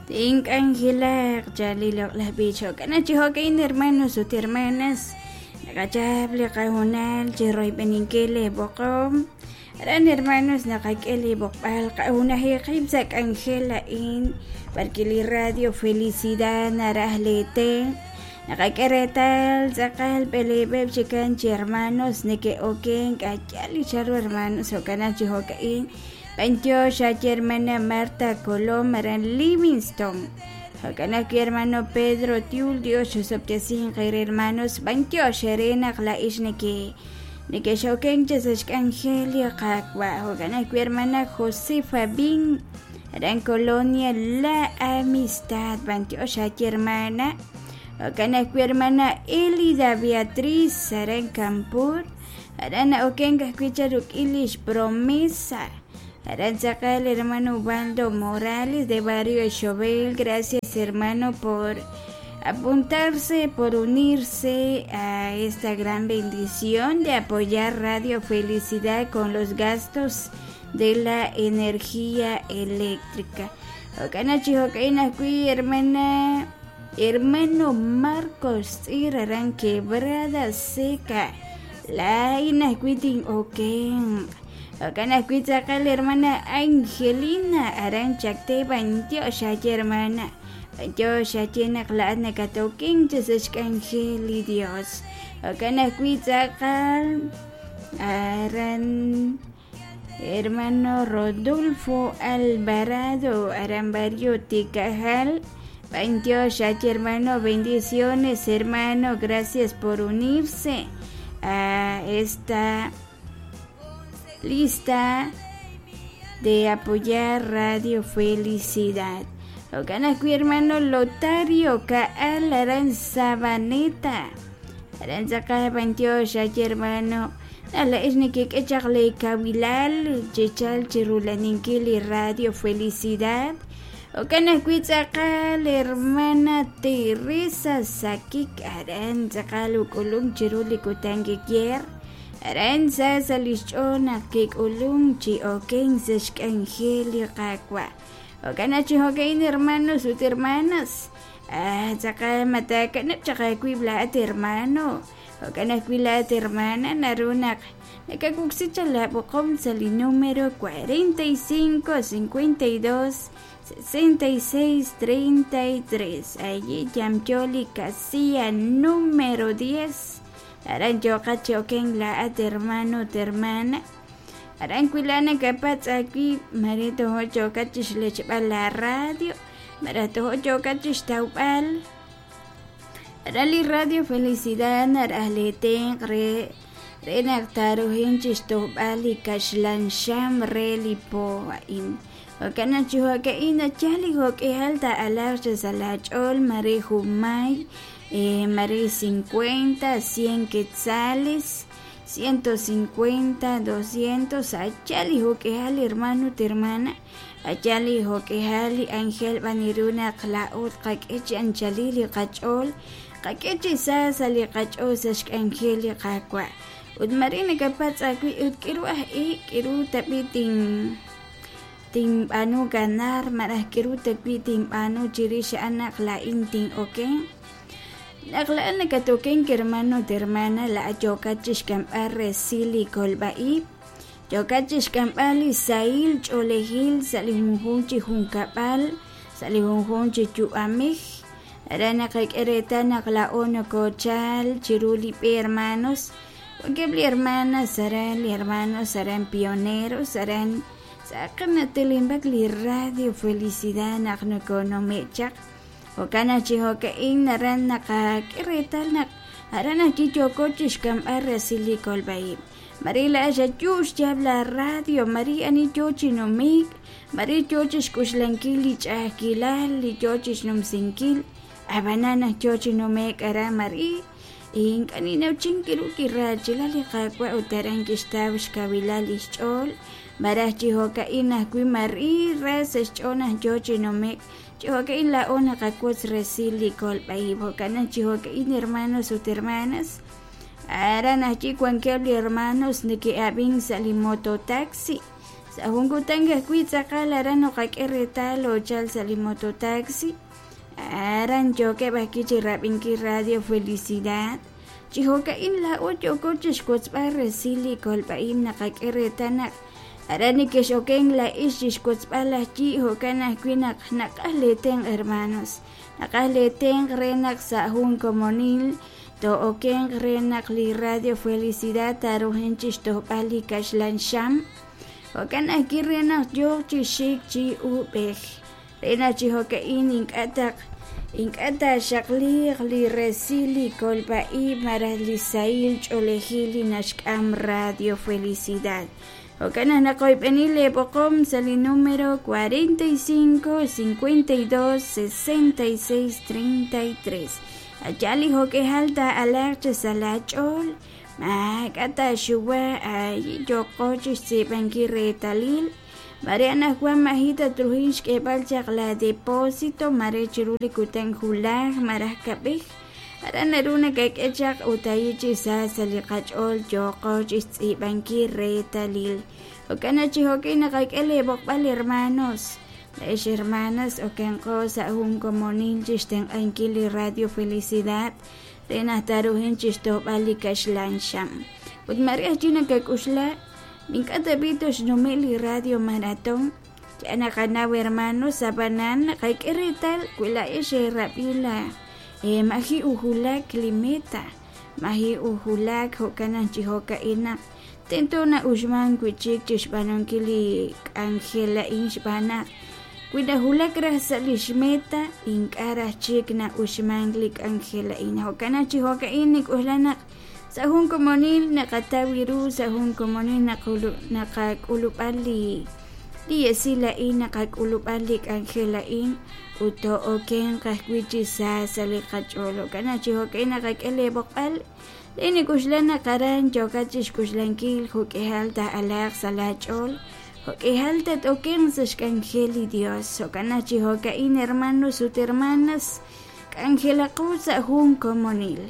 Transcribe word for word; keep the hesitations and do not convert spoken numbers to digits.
Tink'anjelaq chali loq'laj b'ich jo'kan chi jo'ka'in hermanos ut hermanas naqachap li qajunal chi royb'eninkil li b'oqom aran hermanos naqak'e li b'oqb'al qajunaji qib' sa' k'anjel a'in porque li Radio Felicidad naraj leetenq' naqak'e reetal tz'aqal b'eleeb'eb' chikan chi hermanos neke'oken k'ayal li charu hermanos jo'kan chi jo'ka'in b'antiox achi hermana Marta Colom aran Livingston jo'kan ajwi' hermano Pedro Tiul Dios chusob'tesinq re hermanos b'antiox re naq la'ix neke nekexoken chi sa' xk'anjel li Qaawa' jo'kan ajwi' hermana Josefa Bin aran Colonia La Amistad b'antiox achi hermana jo'kan ajwi' hermana Elida Beatriz aran Campur aran na'oken ajwi' cha ruk'in lix promesa aran tz'aqal hermano Ubaldo Morales de Barrio Xobel gracias hermano por apuntarse, por unirse a esta gran bendición de apoyar Radio Felicidad con los gastos de la energía eléctrica. Jo'kan chi jo'ka'in ajwi' hermana hermano Marcos Tz'ir aran Quebrada Seca laa'in ajwi' tin'oken jo'kan ajwi' tz'aqal hermana Angelina aran Chacte b'antiox achi hermana b'antiox achi naq la'at nakatoken chi sa' xk'anjel li Dios jo'kan ajwi' tz'aqal aran hermano Rodolfo Alvarado aran barrio Ticajal b'antiox achi hermano bendiciones hermano gracias por unirse a esta lista de apoyar Radio Felicidad. Jo'kan ajwi' hermano Lotario Ka'al aran Sabaneta aran tz'aqal b'antiox achi hermano nala'ix nekik'e chaq li kawilal chichal chirulaninkil li Radio Felicidad jo'kan ajwi' tz'aqal hermana Teresa Sakik aran tz'aqal uk'ulum chiru li kutan kikier aran sa sa lix ch'ool naq kik'ulum chi oken sa xk'anjel li Qaawa' jo'kan chi jo'ka'in hermanos ut hermanas ah tz'aqal matakanab' chaq aawib' la'at hermano jo'kan ajwi' la'at hermana naru naq nakakuksi chaq la b'oqom sa' li número cuarenta y cinco cincuenta y dos sesenta y seis treinta y tres allí yamyo li casilla número diez aran yoqat chi oken la'at hermano ut hermana aran wi' nakapatz' aawib' mare tojo' yoqat chixlechb'al la radio mare tojo' yoqat chixtawb'al aran li Radio Felicidad naraj leetenq' re re naq taarujin chixtojb'al li kaxlan xam re li po a'in jo'kan naq chi jo'ka'in nachal li jo'k'ihal ta'alaq chi sa' laach'ool mare junmay eh, mare cincuenta, cien quetzales ciento cincuenta, doscientos achal li jo'k'ihal hermano ut hermana achal li jo'k'ihal li ángel b'aniru naq la'ut qak'e chi anchalil li qach'ool qak'e chi sa sa' li qach'ool sa' xk'anjel li Qaawa' ut mare nakapatz' aawib' ut k'iru aj i' k'iru tab'i' tin tinb'aanu ganar maraj k'iru tab'i' tinb'aanu chirix a'an naq la'in tin'oken naq la'an nakatoken hermano ut hermana la'at yoqat chixk'amb'al resil li kolb'a'ib' yoqat chixk'amb'al li sahil ch'oolejil sa' li junjunq chi junkab'al sa' li junjunq chi yu'amej aran naqak'e reetal naq la'o nokochal chiru li b'e hermanos wankeb' li hermanas aran li hermanos aran pioneros aran tz'aqal natelinb'ak li Radio Felicidad naq nokonume' chaq jo'kan naq chi jo'ka'in aran naqak'e reetal naq aran ajwi' yooko chixk'amb'al resil li kolb'a'ib' mare la'ax ayu xyaab' la radio mare ani yoo chi numik mare yoo chixk'uxlankil li ch'a'ajkilal li yoo chixnumsinkil ab'anan naq yoo chi numek aran mare ink'a' ninawchin kiru kirachilal li Qaawa' ut aran kixtaw xkawilal lix ch'ool maraj chi jo'ka'in ajwi' mari ra sa' xch'ool naq yoo chi numek chi jo'ka'in la'o naqawotz resil li kolb'a'ib' jo'kan naq chi jo'ka'in hermanos ut hermanas aran ajwi' wankeb' li hermanos neke'ab'in sa' li mototaxi Sa' jun kutan ajwi' tz'aqal aran noqak'e reetal ochal sa' li mototaxi aran yookeb' ajwi' chi rab'inkil Radio Felicidad. Chi jo'ka'in laa'o yooko chixwotzb'al resil li kolb'a'ib' naqak'e reetal naq aran nekex'oken la'ix chixwotzb'al ajyi' jo'kan ajwi' naq naqaj leetenq' hermanos, naqaj leetenq' re naq sa' jun komonil to'okenq re naq li Radio Felicidad taruhin chixtojb'al li kaxlan xam, jo'kan ajwi' re naq yooq chi xik chi uub'ej re naq chi jo'ka'in ink'a' taq ink'a' taaxaqliiq li resil li kolb'a'ib' malaj li sahil ch'oolejil li naxk'am Radio Felicidad. Jo'kan naq naqoyb'eni leeb'oqom sa' li número cuarenta y cinco, cincuenta y dos, sesenta y seis, treinta y tres. Allá li jo'k'ejal taa'alaaq chi sa' laach'ool, maak'a' taaxuwa ay yoqo chixtz'iib'ankil reetalil. Mare anajwan majita truhin xk'eeb'al chaq la depósito, mare chiru li kutan julaj, maraj kab'ej. Aran naru nakak'e chaq utayi chi sa sa' li qach'ool yoqo chixtz'iib'ankil reetalil. Jo'kan naq chi jo'kin naqak'e leeb'oqb'al hermanos, ex hermanas okenqo sa' jun komonil chixtenq'ankil li Radio Felicidad re naq taruhin chixtojb'al li kaxlan xam. Ut mare ajwi' nakak'uxla ink'a' tab'i toxnume' li Radio Maratón. Ya naqanaw hermanos abanan naqak'e reetal wi la'ex eerab'i la eh, maji ujulak li meta, maji ujulak jo'kan naq chi jo'ka'in naq tento na'uxman wi'chik chixb'aanunkil li k'anjel a'in xb'aan naq wi najulak raj sa' lix meta ink'a' raj chik na'uxman li k'anjel a'in. Jo'kan naq chi jo'ka'in nik'uxla naq sa' jun komonil naqataw ru, sa' jun komonil naqulu-, naqak'ulub'al li, li esil a'in, naqak'ulub'al li k'anjel a'in ut to'okenq ajwi' chi sa sa' li qach'ool. Jo'kan naq chi jo'ka'in naqak'e leeb'oqb'al le nik'uxla naq aran yookat chixk'uxlankil jo'k'ejal taa'alaaq sa' laach'ool, jo'k'ejal tat-okenq sa' xk'anjel li Dios. Jo'kan naq chi jo'ka'in hermanos ut hermanas k'anjelaqo sa' jun komonil.